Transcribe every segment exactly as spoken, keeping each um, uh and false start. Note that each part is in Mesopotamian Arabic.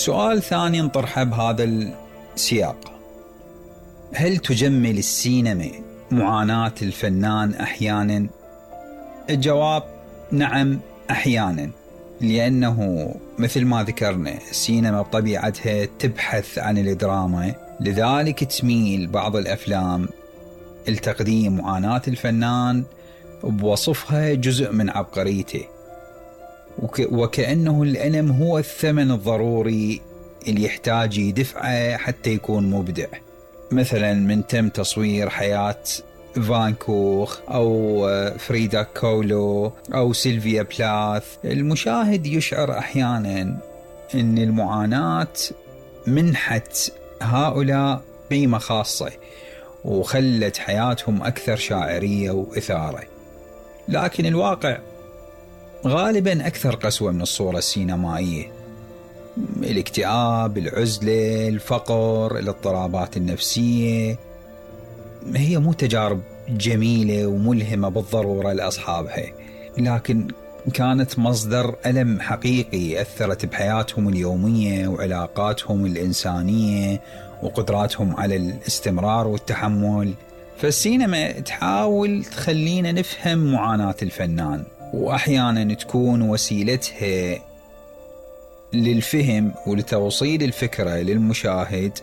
سؤال ثاني نطرحه بهذا السياق: هل تجمل السينما معاناة الفنان أحيانا؟ الجواب نعم أحيانا، لأنه مثل ما ذكرنا السينما بطبيعتها تبحث عن الدراما، لذلك تميل بعض الأفلام لتقديم معاناة الفنان بوصفها جزء من عبقريته، وك وكأنه الألم هو الثمن الضروري اللي يحتاج يدفعه حتى يكون مبدع. مثلا من تم تصوير حياة فان كوخ أو فريدا كولو أو سيلفيا بلاث، المشاهد يشعر أحيانا أن المعاناة منحت هؤلاء قيمة خاصة وخلت حياتهم أكثر شاعرية وإثارة. لكن الواقع غالبا أكثر قسوة من الصورة السينمائية. الاكتئاب، العزلة، الفقر، الاضطرابات النفسية هي مو تجارب جميلة وملهمة بالضرورة لأصحابها، لكن كانت مصدر ألم حقيقي أثرت بحياتهم اليومية وعلاقاتهم الإنسانية وقدراتهم على الاستمرار والتحمل. فالسينما تحاول تخلينا نفهم معاناة الفنان، وأحيانا تكون وسيلتها للفهم ولتوصيل الفكرة للمشاهد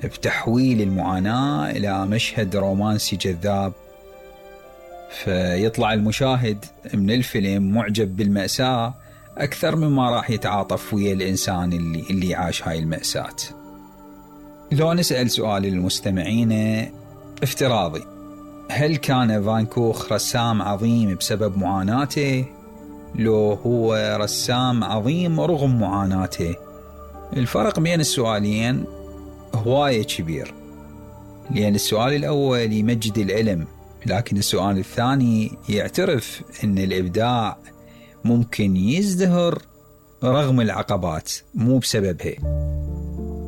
بتحويل المعاناة إلى مشهد رومانسي جذاب، فيطلع المشاهد من الفيلم معجب بالمأساة أكثر مما راح يتعاطف ويا الإنسان اللي, اللي عاش هاي المأساة. لو نسأل سؤال للمستمعين افتراضي: هل كان فان كوخ رسام عظيم بسبب معاناته؟ لو هو رسام عظيم رغم معاناته؟ الفرق بين السؤالين هواية كبير، لأن السؤال الأول يمجد العلم، لكن السؤال الثاني يعترف أن الإبداع ممكن يزدهر رغم العقبات مو بسببها.